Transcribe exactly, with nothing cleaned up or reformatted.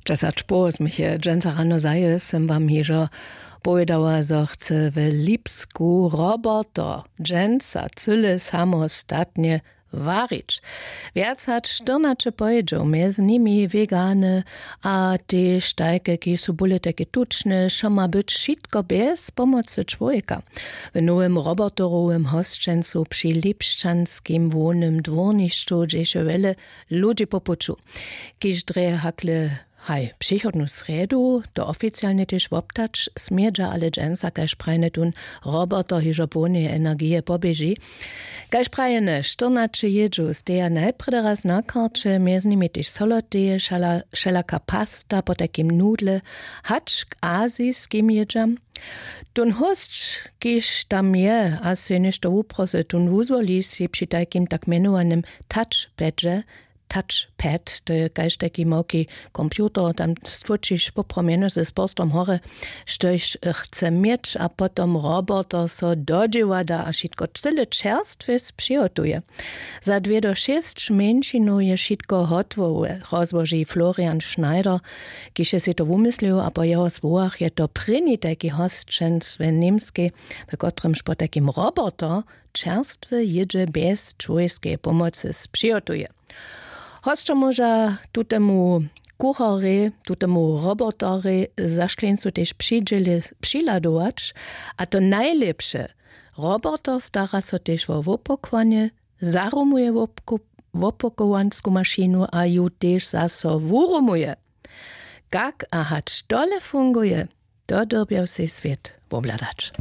Dźesać poł změch je dźensa rano zaje sym wam hižo powědała, zo chce w Lipsku roboter dźensa cyle samostatnje warić. Wjac hač štyrnaće pojedźow, mjez nimi wegany, a tež tajke, kiž su bóle tajke tučne, wšo ma być wšitko bjez pomocy čłowjeka. W nowym roboterowym hosćencu při lipšćanskim hłownym dwórnišću dźeše wjele ludźi po puću, kiž drje hakle haj přichodnu srjedu to oficialnje tež woptać smědźa, ale dźensa, kaž prajene tón roboter hižo połneje energije poběži. Kaž prajene, štyrnaće jědźow steja najprjedy raz na karće, mjez nimi tež soloteje, wšelaka pasta, potajkim nudle, hač k aziskim jědźam. Tón hósć, kiž tam je a sej něšto wuprosy, tón wuzwoli sej při tajkim tak mjenowanym touchpadźe, touchpad, to je kaž tajki małki computer, tam stwóčiš poprawom jenož z porstom horje, štož chce měć, a potom roboter so dodźěła da a wšitko cyle čerstwje přihotuje. Za dwě do šěsć mjeńšinow je wšitko hotłowe, rozłoži Florian Schneider, kiž je sej to wumyslił, a po jeho słowach je to prěni tajki hosćenc w Němskej, w kotrymž po tajkim roboter čerstwe jědźe bjez čłowjeskeje pomocy přihotuje. Hosćo móža tutemu kucharjej, tutemu roboterjej za škleńcu tež přidźěle přihladować. A to najlěpše, roboter stara so tež wo wopakowanje, zarumuje wopakowansku mašinu a ju tež zaso wurumuje. Kak a hač tole funguje, to dyrbjał sej swět wobhladać.